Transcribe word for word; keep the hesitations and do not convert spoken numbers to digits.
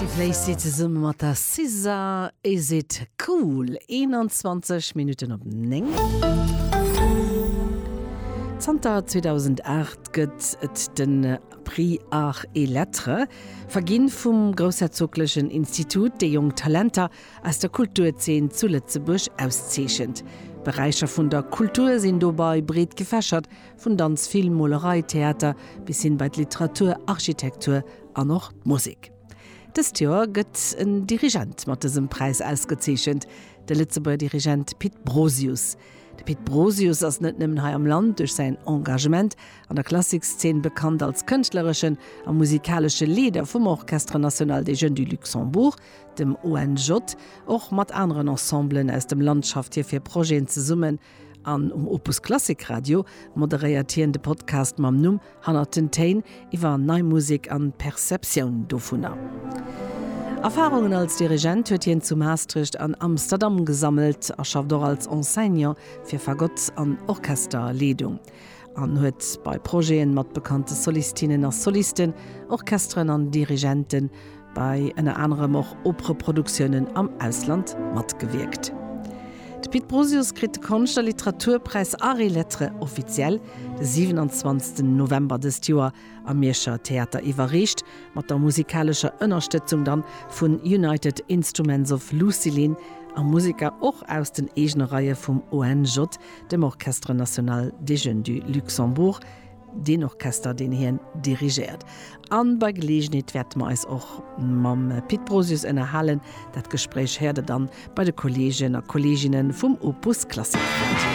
Steve Lacy zesumme mat der SZA, Is It Cool? eenanzwanzeg Minutten op néng. Zanter zweedausendacht gëtt et de Prix Arts et Lettres, verginn vum Groussherzoglechen Institut, dee jonk Talenter aus der Kulturzeen zu Lëtzebuerg auszeechent. D'Beräicher vun der Kultur sinn dobei breet gefächert, vun Danz, Film, Molerei, Theater bis hin bei d'Literatur, Architektur an och d'Musek. Dëst Joer gëtt en Dirigent mat dësem Präis ausgezeechent, de Lëtzebuerger Dirigent Pit Brosius. De Pit Brosius ass net nëmmen hei am Land duerch säin Engagement an der Klassikszeen bekannt als kënschtlereschen a musikalesche Leeder vum Orchestre National des Jeunes du Luxembourg, dem O N J. Och mat aneren Ensemblen aus dem Land schafft hie fir Projeten zesummen an um Opus Klassik Radio moderéiert hien de Podcast mam Numm Hannert den Téin iwwer nei Musek an d'Perceptioun dovunner. Erfarungen als Dirigent huet hien zu Maastricht an Amsterdam gesammelt a schafft och als Enseignant fir Fagott an Orchesterleedung an huet bei Projeten mat bekannte Solistinnen a Solisten, Orchesteren an Dirigenten bei ënner anerem och Opereproduktiounen am Ausland matgewierkt. De Pit Brosius kritt de Konscht a Literaturpräis Arts et Lettres offiziell de siwenanzwanzegsten November dëst Joer am Mierscher Theater iwwerreecht, mat der musikalescher Ënnerstëtzung dann vun United Instruments of Lucilin a Museker och aus den eegene Reie vum O N J, dem Orchestre National des Jeunes du Luxembourg, deen Orchester, deen hien dirigéiert. An bei Geleegenheet wäerte mer eis och mam Pit Brosius ënnerhalen. Dat Gespréich héiert der dann bei de Kolleegen a Kolleeginne vum Opus Klassik Radio.